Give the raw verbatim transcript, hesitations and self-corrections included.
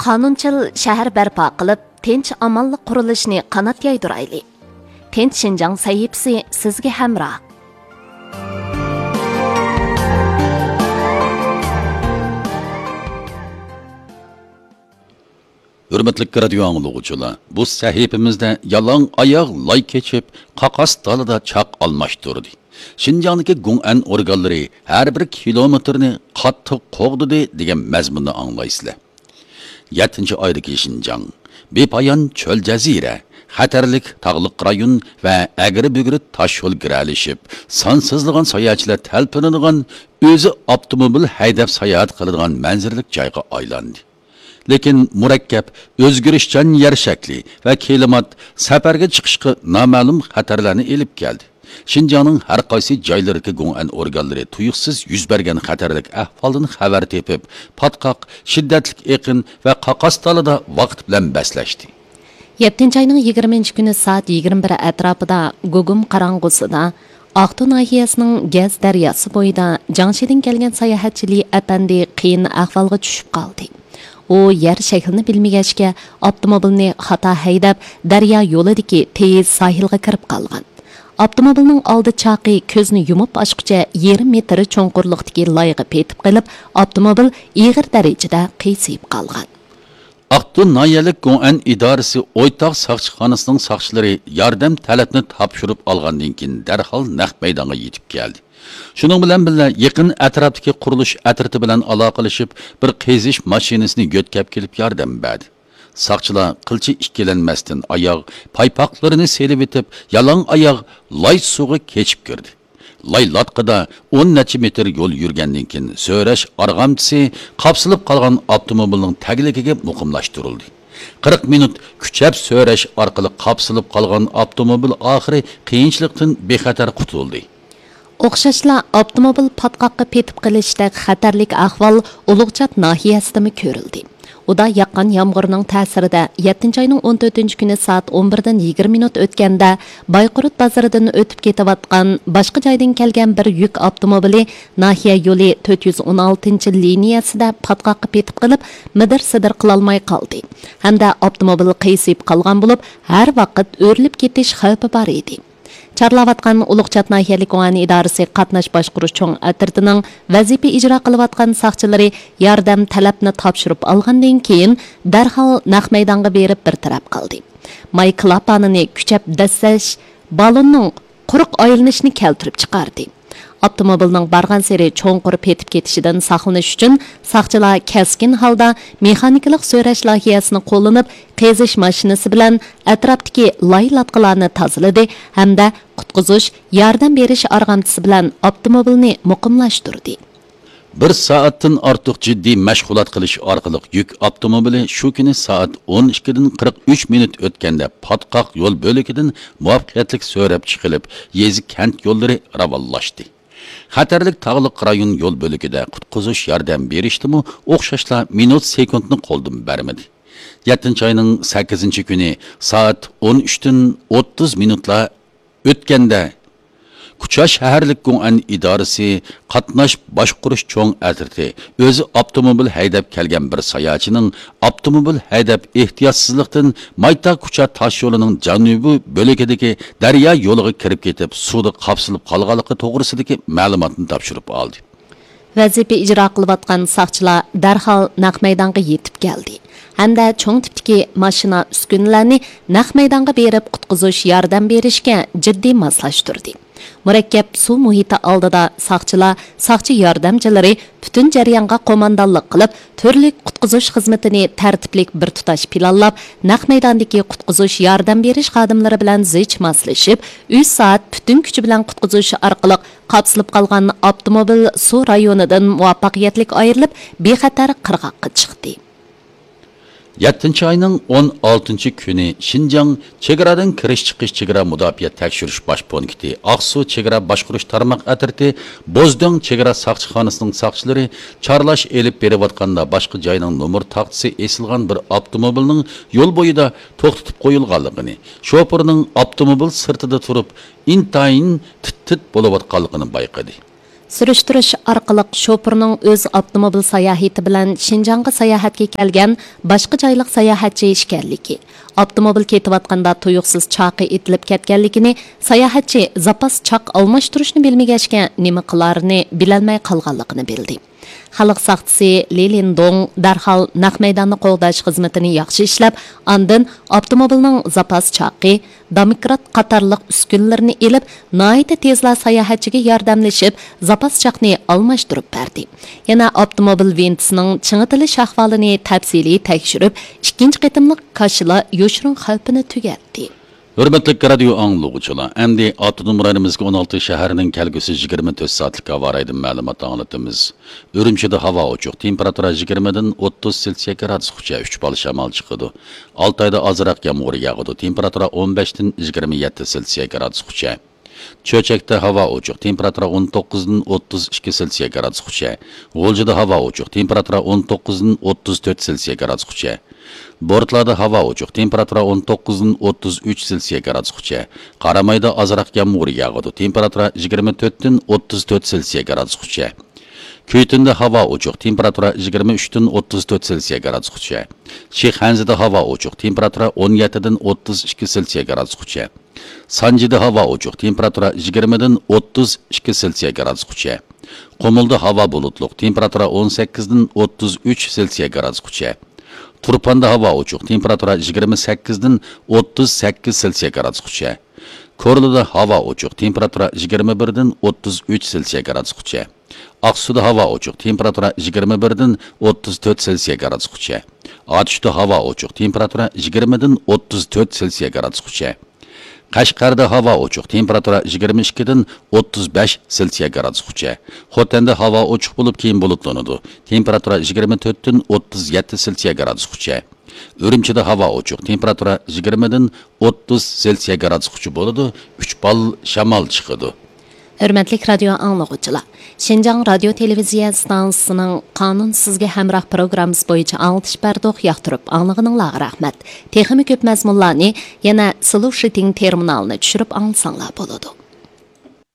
قانۇنچىل شەھەر بەرپا قىلىپ، تىنچ-ئامانلىق قۇرۇلۇشىنى قانات يايدۇرايلى. تىنچ شىنجاڭ سەھىپىسى سىزگە ھەمراھ. ھۆرمەتلىك رادىيو ئاڭلىغۇچىلار، بۇ سەھىپىمىزدە يالاڭ ئاياغ لاي كېچىپ، قاقاس دالىدا چاق ئالماشتۇردى. شىنجاڭدىكى گۇڭئەن ئورگانلىرى ھەر بىر كىلومېتىرنى قاتتىق قوغدىدى دېگەن مەزمۇننى ئاڭلايسىلەر. يەتتىنچى ئايدىكى شىنجاڭ، بىپايان چۆل جەزىرە، خەتەرلىك تاغلىق رايون ۋە ئەگرى-بۈگرى تاش يول گىرەلىشىپ، سانسىزلىغان ساياھەتچىلەر تەلپۈنىدىغان، ئۆزى ئاپتوموبىل ھەيدەپ ساياھەت قىلىدىغان مەنزىرىلىك جايغا ئايلاندى. لېكىن مۇرەككەپ، ئۆزگىرىشچان يەر شەكلى ۋە كىلىمات سەپەرگە چىقىشقا نامەلۇم خەتەرلەرنى ئېلىپ كەلدى. شىنجاڭنىڭ ھەر قايسى جايلىرىدىكى گۇڭئەن ئورگانلىرى تۇيۇقسىز يۈز بەرگەن خەتەرلىك ئەھۋالدىن خەۋەر تېپىپ، پاتقاق، شىددەتلىك ئېقىن ۋە قاقاس دالىدا ۋاقىت بىلەن بەسلەشتى. يەتتىنچى ئاينىڭ يىگىرمىنچى كۈنى سائەت يىگىرمە بىر ئەتراپىدا گۇگۇم قاراڭغۇسىدا ئاقتۇ ناھىيەسىنىڭ گەز دەرياسى بويىدا جاڭشىدىن كەلگەن ساياھەتچى لى ئەپەندى قىيىن ئەھۋالغا چۈشۈپ قالدى. ئۇ يەر شەكلىنى بىلمىگەچكە، ئاپتوموبىلنى خاتا ھەيدەپ، دەريا يولىدىكى تېيىز ساھىلغا كىرىپ قالغان. ئاپتوموبىلنىڭ ئالدى چاقى كۆزنى يۇمۇپ ئاچقۇچە يېرىم مېتىر چوڭقۇرلۇقتىكى لايغا پېتىپ قېلىپ، ئاپتوموبىل ئېغىر دەرىجىدە قىيسىيىپ قالغان. ئاقتۇ ناھىيەلىك گوئەن ئىدارىسى ئويتاغ ساقچىخانىسىنىڭ ساقچىلىرى ياردەم تەلەپنى تاپشۇرۇپ ئالغاندىن كېيىن، دەرھال نەق مەيدانغا يېتىپ كەلدى. شۇنىڭ بىلەن بىللە، يېقىن ئەتراپتىكى قۇرۇلۇش ئەترىتى بىلەن ئالاقىلىشىپ، بىر قېزىش ماشىنىسىنى يۆتكەپ كېلىپ ياردەم بەردى. ساقچىلار قىلچە ئىككىلەنمەستىن ئاياغ، پايپاقلىرىنى سېلىۋېتىپ، يالاڭ ئاياغ لاي سۇغا كېچىپ كىردى. لاي لاتقىدا ئون نەچچە مېتىر يول يۈرگەندىن كېيىن، سۆرەش ئارغامچىسى قاپسىلىپ قالغان ئاپتوموبىلنىڭ تەگلىكىگە مۇقىملاشتۇرۇلدى. قىرىق مىنۇت كۈچەپ سۆرەش ئارقىلىق قاپسىلىپ قالغان ئاپتوموبىل ئاخىرى قىيىنچىلىقتىن بىخەتەر قۇتۇلدى. ئوخشاشلا، ئاپتوموبىل پاتقاققا پېتىپ قېلىشتەك خەتەرلىك ئەھۋال ئۇلۇغچات ناھىيەسىدىمۇ كۆرۈلدى. ئۇدا ياغقان يامغۇرنىڭ تەسىرىدە، يەتتىنچى ئاينىڭ ئون تۆتىنچى كۈنى سائەت ئون بىردىن يىگىرمە مىنۇت ئۆتكەندە، بايقۇرۇت بازىرىدىن ئۆتۈپ كېتىۋاتقان باشقا جايدىن كەلگەن بىر يۈك ئاپتوموبىلى ناھىيە يولى تۆت يۈز ئون ئالتىنچى لىنىيەسىدە پاتقاققا پېتىپ قېلىپ، مىدىر-سىدىر قىلالماي قالدى ھەمدە ئاپتوموبىل قىيسىيىپ قالغان بولۇپ، ھەر ۋاقىت ئۆرۈلۈپ كېتىش خەۋپى بار ئىدى. چارلاۋاتقان ئۇلۇغچات ناھىيەلىك گۇڭئەن ئىدارىسى قاتناش باشقۇرۇش چوڭ ئەترىتىنىڭ ۋەزىپە ئىجرا قىلىۋاتقان ساقچىلىرى ياردەم تەلەپنى تاپشۇرۇپ ئالغاندىن كېيىن، دەرھال نەق مەيدانغا بېرىپ بىر تەرەپ قىلدى. ماي كلاپانىنى كۈچەپ دەسسەش، بالوننىڭ قۇرۇق ئايلىنىشىنى كەلتۈرۈپ چىقاردى. ئاپتوموبىلنىڭ بارغانسېرى چوڭقۇر پېتىپ كېتىشىدىن ساقلىنىش ئۈچۈن، ساقچىلار كەسكىن ھالدا مېخانىكىلىق سۆرەش لايىھەسىنى قوللىنىپ، قېزىش ماشىنىسى بىلەن ئەتراپتىكى لاي لاتقىلارنى تازىلىدى ھەمدە قۇتقۇزۇش، ياردەم بېرىش ئارغامچىسى بىلەن ئاپتوموبىلنى مۇقىملاشتۇردى. بىر سائەتتىن ئارتۇق جىددىي مەشغۇلات قىلىش ئارقىلىق يۈك ئاپتوموبىلى شۇ كۈنى سائەت ئون ئىككىدىن قىرىق ئۈچ مىنۇت ئۆتكەندە پاتقاق يول بۆلىكىدىن مۇۋەپپەقىيەتلىك سۆرەپ چىقىلىپ، يېزا، كەنت يوللىرى راۋانلاشتى. خەتەرلىك تاغلىق رايون يول بۆلىكىدە قۇتقۇزۇش ياردەم بېرىشتىمۇ ئوخشاشلا مىنۇت سېكۇنتنى قولدىن بەرمىدى. يەتتىنچى ئاينىڭ سەككىزىنچى كۈنى سائەت ئون ئۈچتىن ئوتتۇز مىنۇتلار ئۆتكەندە، كۇچا شەھەرلىك گۇڭئەن ئىدارىسى قاتناش باشقۇرۇش چوڭ ئەترىتى ئۆزى ئاپتوموبىل ھەيدەپ كەلگەن بىر ساياھەتچىنىڭ ئاپتوموبىل ھەيدەپ ئېھتىياتسىزلىقتىن مايتا كۇچا تاشيولىنىڭ جەنۇبىي بۆلىكىدىكى دەريا يولىغا كىرىپ كېتىپ، سۇدا قاپسىلىپ قالغانلىقى توغرىسىدىكى مەلۇماتنى تاپشۇرۇپ ئالدى. ۋەزىپە ئىجرا قىلىۋاتقان ساقچىلار دەرھال نەق مەيدانغا يېتىپ كەلدى ھەمدە چوڭ تىپتىكى ماشىنا ئۈسكۈنىلەرنى نەق مەيدانغا بېرىپ قۇتقۇزۇش ياردەم بېرىشكە جىددىي ماسلاشتۇردى. مۇرەككەپ سۇ مۇھىتى ئالدىدا ساقچىلار ساقچى ياردەمچىلىرى پۈتۈن جەريانغا قوماندانلىق قىلىپ، تۈرلۈك قۇتقۇزۇش خىزمىتىنى تەرتىپلىك بىر تۇتاش پىلانلاپ، نەق مەيداندىكى قۇتقۇزۇش ياردەم بېرىش خادىملىرى بىلەن زىچ ماسلىشىپ، ئۈچ سائەت پۈتۈن كۈچى بىلەن قۇتقۇزۇش ئارقىلىق قاپسىلىپ قالغان ئاپتوموبىل سۇ رايونىدىن مۇۋەپپەقىيەتلىك ئايرىلىپ، بىخەتەر قىرغاققا چىقتى. يەتتىنچى ئاينىڭ ئون ئالتىنچى كۈنى شىنجاڭ چېگرادىن كىرىش چىقىش چېگرا مۇداپىئە تەكشۈرۈش باش پونكىتى، ئاقسۇ چېگرا باشقۇرۇش تارماق ئەترىتى، بوزدۆڭ چېگرا ساقچىخانىسىنىڭ ساقچىلىرى چارلاش ئېلىپ بېرىۋاتقاندا، باشقا جاينىڭ نومۇر تاختىسى ئېسىلغان بىر ئاپتوموبىلنىڭ يول بويىدا توختىتىپ قويۇلغانلىقىنى، شوپۇرنىڭ ئاپتوموبىل سىرتىدا تۇرۇپ، ئىنتايىن تىت-تىت بولۇۋاتقانلىقىنى بايقىدى. سۈرۈشتۈرۈش ئارقىلىق شوپۇرنىڭ ئۆز ئاپتوموبىل ساياھىتى بىلەن شىنجاڭغا ساياھەتكە كەلگەن باشقا جايلىق ساياھەتچى ئىكەنلىكى، ئاپتوموبىل كېتىۋاتقاندا تۇيۇقسىز چاقى ئېتىلىپ كەتكەنلىكىنى، ساياھەتچى زاپاس چاق ئالماشتۇرۇشنى بىلمىگەچكە نېمە قىلارىنى بىلەلمەي قالغانلىقىنى بىلدى. خەلق ساقچىسى لى لىندوڭ دەرھال نەق مەيداننى قوغداش خىزمىتىنى ياخشى ئىشلەپ، ئاندىن ئاپتوموبىلنىڭ زاپاس چاقى، دومكرات قاتارلىق ئۈسكۈنىلىرىنى ئېلىپ، ناھايىتى تېزلا ساياھەتچىگە ياردەملىشىپ، زاپاس چاقنى ئالماشتۇرۇپ بەردى. يەنە ئاپتوموبىل ۋىنتىسىنىڭ چىڭىتىلىش ئەھۋالىنى تەپسىلىي تەكشۈرۈپ، ئىككىنچى قېتىملىق كاشىلا يوشۇرۇن خەۋپىنى تۈگەتتى. ھۆرمەتلىك رادىيو ئاڭلىغۇچىلار، ئەمدى ئاپتونوم رايونىمىزدىكى ئون ئالتە شەھەرنىڭ كەلگۈسى يىگىرمە تۆت سائەتلىك ھاۋا رايىدىن مەلۇمات ئاڭلىتىمىز. ئۈرۈمچىدە ھاۋا ئوچۇق، تېمپېراتۇرا يىگىرمىدىن ئوتتۇز سېلسىيە گرادۇسقىچە، ئۈچ بال شامال چىقىدۇ. ئالتايدا ئازراق يامغۇر ياغىدۇ، تېمپېراتۇرا ئون بەشتىن يىگىرمە يەتتە سېلسىيە گرادۇسقىچە. چۆچەكتە ھاۋا ئوچۇق، تېمپېراتۇرا ئون توققۇزدىن ئوتتۇز ئىككى سېلسىيە گرادۇسقىچە. غۇلجىدا ھاۋا ئوچۇق، تېمپېراتۇرا ئون توققۇزدىن ئوتتۇز تۆت سېلسىيە گرادۇسقىچە. بورتلادا ھاۋا ئوچۇق، تېمپېراتۇرا ئون توققۇزدىن ئوتتۇز ئۈچ سېلسىيە گرادۇسقىچە. قارامايدا ئازراق يامغۇر ياغىدۇ، تېمپېراتۇرا يىگىرمە تۆتتىن ئوتتۇز تۆت سېلسىيە گرادۇسقىچە. كۈيتۈندە ھاۋا ئوچۇق، تېمپېراتۇرا يىگىرمە ئۈچتىن ئوتتۇز تۆت سېلسىيە گرادۇسقىچە. شىخەنزىدە ھاۋا ئوچۇق، تېمپېراتۇرا ئون يەتتىدىن ئوتتۇز ئىككى سېلسىيە گرادۇسقىچە. سانجىدا ھاۋا ئوچۇق، تېمپېراتۇرا يىگىرمىدىن ئوتتۇز ئىككى سېلسىيە گرادۇسقىچە. قۇمۇلدا ھاۋا بۇلۇتلۇق، تېمپېراتۇرا ئون سەككىزدىن ئوتتۇز ئۈچ سېلسىيە گرادۇسقىچە. تۇرپاندا ھاۋا ئوچۇق، تېمپېراتۇرا يىگىرمە سەككىزدىن ئوتتۇز سەككىز سېلسىيە گرادۇسقىچە. كورلىدا ھاۋا ئوچۇق، تېمپېراتۇرا يىگىرمە بىردىن ئوتتۇز ئۈچ سېلسىيە گرادۇسقىچە. ئاقسۇدا ھاۋا ئوچۇق، تېمپېراتۇرا يىگىرمە بىردىن ئوتتۇز تۆت سېلسىيە گرادۇسقىچە. ئاتۇشتا ھاۋا ئوچۇق، تېمپېراتۇرا يىگىرمىدىن ئوتتۇز تۆت سېلسىيە گرادۇسقىچە. قەشقەردە ھاۋا ئوچۇق، تېمپېراتۇرا يىگىرمە ئىككىدىن ئوتتۇز بەش سېلسىيە گرادۇسقىچە. خوتەندە ھاۋا ئوچۇق بولۇپ، كېيىن بۇلۇتلىنىدۇ. تېمپېراتۇرا يىگىرمە تۆتتىن ئوتتۇز يەتتە سېلسىيە گرادۇسقىچە. ئۈرۈمچىدە ھاۋا ئوچۇق، تېمپېراتۇرا يىگىرمىدىن ئوتتۇز سېلسىيە گرادۇسقىچە بولىدۇ، ئۈچ بال شامال چىقىدۇ. ھۆرمەتلىك رادىيو ئاڭلىغۇچىلار، شىنجاڭ رادىيو تېلېۋىزىيە ئىستانسىسىنىڭ قانۇن سىزگە ھەمراھ پروگراممىسى بويىچە ئاڭلىتىش بەردۇق، ياقتۇرۇپ ئاڭلىغىنىڭلارغا رەھمەت. تېخىمۇ كۆپ مەزمۇنلارنى يەنە سلۇشىتىڭ تېرمىنالىنى چۈشۈرۈپ ئاڭلىساڭلار بولىدۇ.